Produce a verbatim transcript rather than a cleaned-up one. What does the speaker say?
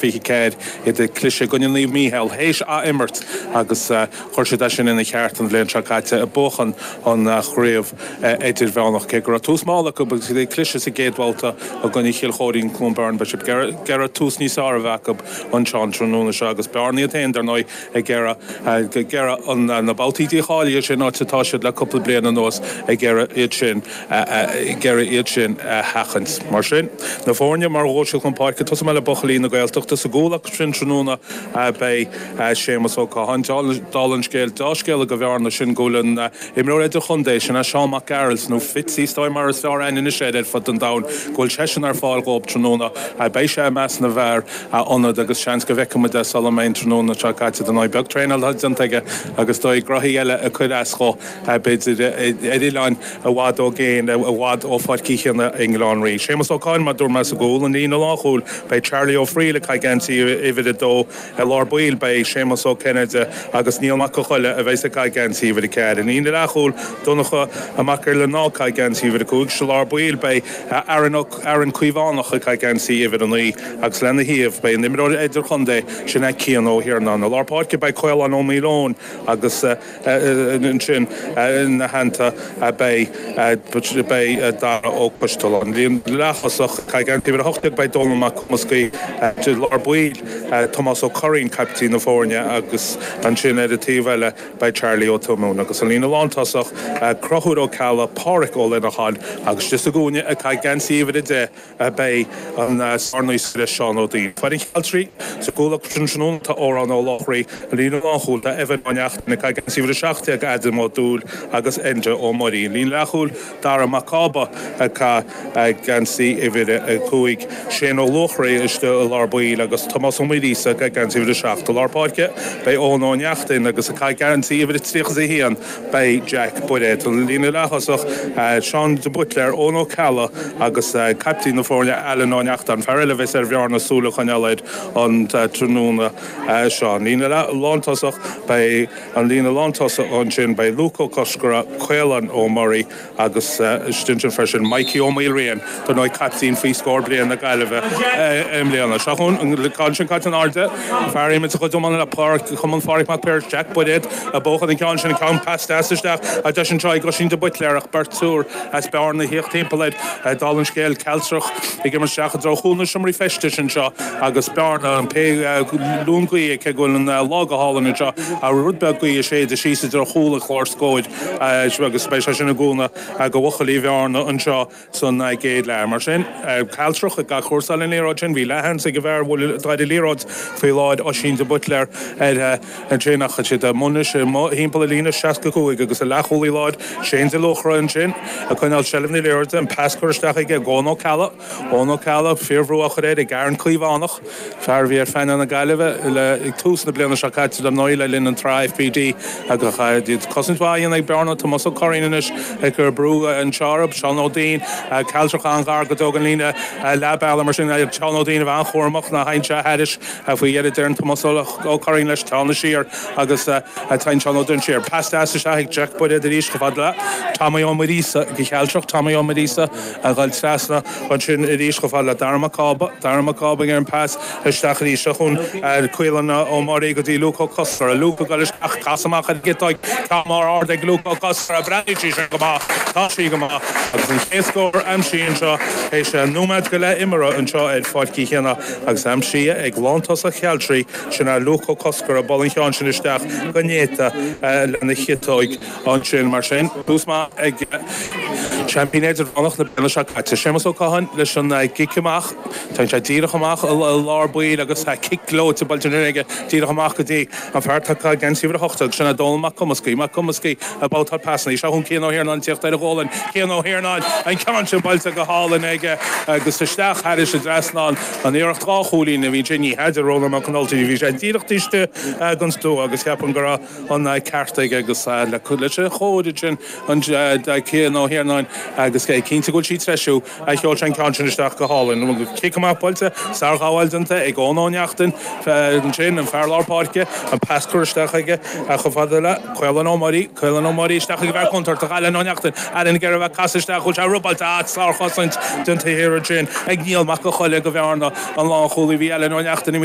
fiche ceathair iad ag cliseadh i gcoinne Naomh Mícheál théis ath-imirt agus chuir siad é sin ina cheart an bhliain seo caite ag buachan an chraobh idirmheánach. Cé go raibh tús mall acu agus iad ag cliseadh sa gcéad bhabhta i gcoinne Chill Chóirín Cluain Bheirn beidh siad ag iarraidh tús níos fearr a bheith acu anseo an tráthnóna seo agus Bearna iad féin dar ndóigh ag iarraidh ag iarraidh na babhtaí dícháilithe sin áit atá siad le cúpla bliain anuas ag iarraidh iad sin ag iarraidh iad sin a sheachaint. Mar sin, na foirne mar a ghabhfaidh siad chun páirce, tosóidh mé le buachaillí na Gaeltachta sa gcúl acu sin tráthnóna beidh Séamus Ó Catháin. Dála an scéil, deá-scéala do Bhearna sin go bhfuil an imreoir idirchontae, sin é Seán Mac Gearailt, nó Fitzy is dóigh mar is fearr aithne anois air ar fud an domhain, go bhfuil seisean ar fáil dhóibh tráthnóna. Beidh sé i measc na bhfear ionaid agus seans go bhfeicfidh muid é sula mbeidh an tráthnóna seo caite. Dar ndóigh beag traenáil atá déanta aige agus is dóigh graithí eile ag cur as dhó, b'fhéidir ar oileáin i bhfad ó gcéin, i bhfad ó Pháirc Uí Chionnaith i nGleann Rí. Séamus Ó Catháin, mar a dúirt mé, sa gcúl, an líne lánchúil, beidh Charlie Ó Frighil ag caitheamh geansaí uimhir a dó, i lár baill beidh Séamus Ó Cinnéide agus Niall Mac Con Choille a bheas ag caitheamh geansaí uimhir a ceathair. I líne leathchúil, Donncha Mac Giolla Ná ag caitheamh geansaí uimhir a cúig, sa lár baill beidh Aaron Ó Aaron Caomhánach ag caitheamh geansaí uimhir a naoi agus lena thaobh beidh an imreoir idirchontae sin é Cian Ó hIarnáin. I lár páirce beidh Caolán Ó Maoileoin agus ansin ina theannta beidh beidh Dara Ó Coistealbha. Líne leath-thosach ag caitheamh geansaí uimhir a hocht déag beidh Dónal Mac Cumascaí, i lár baill Tomás Ó Curraoin, caiptín na foirne agus ansin ar an taobh eile beidh Charlie Ó Tuamúin. Agus an líne lántosach Conchúr Ó Ceallaigh, Páraic Ó Lineacháin agus istigh sa gcúinne ag caitheamh geansaí uimhir a deich beidh an sárnaoscaire Seán Ó Duinn. Foireann Chealtraí sa gcúl acu sin tráthnóna tá Odhrán Ó Lochraí, an líne lánchúil tá Evan Ó Neachtain ag caitheamh geansaí uimhir a seacht déag, Adam Ó Dúill agus Enda Ó Muirí. An líne leathchúil Dara Mac Cába ag caitheamh geansaí uimhir a cúig, Shane Ó Luachraí istigh i lár baill agus Tomás Ó Maoilíosa ag caitheamh geansaí uimhir a seacht. I lár páirce beidh Eoin Ó Neachtain agus ag caitheamh geansaí uimhir a tríocha is a haon beidh Jack Bairéad. An líne leath-thosach Seán de Buitléar, Eoin Ó Ceallaigh agus caiptín na foirne Alan Ó Neachtain, fear eile a bheas ar Bhearna súil a choinneáil air an tráthnóna seo. An líne lántosach beidh an líne lántosach ansin beidh Luke Ó Cosgordha, Caolán Ó Muirí agus istigh ansin freisin Mikey Ó Maoilriain, dar ndóigh caiptín faoi scór bliain na Gaillimhe i mbliana. Seo chugainn an ceann sin caite in airde, fear imirt a chuid iomána le Páirc Chumann Phádraig Mac Piarais, Jack Bairéad ag buachan an ceann sin, an ceann pas deas isteach a deis anseo ag Oisín de Buitléar ach beirt triúr as Bearna ag tíocht timpeall air. Dála an scéil, Cealtrach ag imirt isteach i dtreo chúl na seomraí feistis anseo agus Bearna, an pé lún gaoithe, cé go bhfuil an lá go hálainn anseo, rud beag gaoithe ag séideadh síos i dtreo chúl an chláir scóir agus beidh sé sin i gcúnamh do bhuachaillí Bhearna anseo san gcéad leath. Mar sin, Cealtrach ag athchúrsáil an liathróid sin. Bhí leathsheans ag an bhfear a bhfuil atá ar an liathróid faoi láthair, Oisín de Buitléar, ar ansin ach tá siad amuigh anois timpeall an líne seasca cúig agus an leathchúlaí láir, Shane de Luachra ansin ag coinneáil seilbh na liathróide, an pas curtha isteach aige ag Eoin Ó Ceallaigh. Eoin Ó Ceallaigh, fíorbhrú á chur air ag Aaron Caomhánach, fear a bhí ar phainéal na Gaillimhe le ag tús na bliana seo caite dar ndóigh le linn an tsraith F P D agus iad cosaint mhaith a dhéanamh ag Bearna, Tomás Ó Curraoin anois ag cur brú anseo orthu, Seán Ó Duinn, Cealtrach an-ghar go deo don líne leath bealaigh mar sin Seán Ó Duinn a bheith an-chúramach ná théann sé thairis faoi dheireadh deireann Tomás Ó Curraoin leis teannadh siar agus téann Seán Ó Duinn siar. Pas deas isteach ag Jack Bairéad arís chomh fada le Tommy Ó Muiríosa go Cealtrach, Tommy Ó Muiríosa a ghoil trasna ansin arís chomh fada le Dara Mac Cába, Dara Mac Cába ag an pas isteach arís seo chun Caolán Ó Muirí go dtí Luke Ó Cosgordha, Luke ag dul isteach, casadh amach ar an gciotóig, ceann mór ard ag Luke Ó Cosgordha, breathnaíonn sí sin go maith, tá sí go maith agus an chéad scór aimsithe anseo théis nóiméad go leith imeartha anseo ar Pháirc Uí Chionnaith agus aimsithe ag lántosach Chealtraí, sin é Luke Ó Cosgordha, bualadh an cheann sin isteach go néata lena chiotóig ansin. Mar sin, tús maith ag seaimpín idirmheánach na bliana seo caite, Séamus Ó Catháin leis an gcic amach. Téann sé díreach amach i lár baill agus cic gleoite buailte ansin aige díreach amach go dtí an fear atá ag caitheamh geansaí uimhir a hocht agus sin é Dónal Mac Cumascaí. Mac Cumascaí ag babhtáil pasanna. Seo chugainn Cian Ó hIarnáin ag tíocht ar a ghualainn. Cian Ó hIarnáin, an ceann sin buailte go hálainn aige agus isteach thairis an dtrasnán. An iarracht dhá chúilín a bhí ansin, ní hea, a deir Rónán Mac Con Ultaigh, bhí sé díreach taobh istigh den stua agus ceapaim go raibh an ceart aige agus leis an chóir ansin an Cian Ó hIarnáin agus é cinnte go bhfuil sí ag treisiú. Sheol sé an ceann sin isteach go hálainn. Cic amach buailte, sárghabháil déanta ag Eoin Ó Neachtain ansin, an fear lár páirce, an pas curtha isteach aige chomh fada le Caolán Ó Muirí, Caolán Ó Muirí isteach ag an bhfear contúirteach, Alan Ó Neachtain, Alan ag iarraidh a bheith ag casadh isteach, bhfuil sé robáilte, ah, sárchosaint déanta thiar ansin ag Niall Mac Con Choille do Bhearna, an lánchúlaí. cúlaí bhí Alan Ó Neachtain.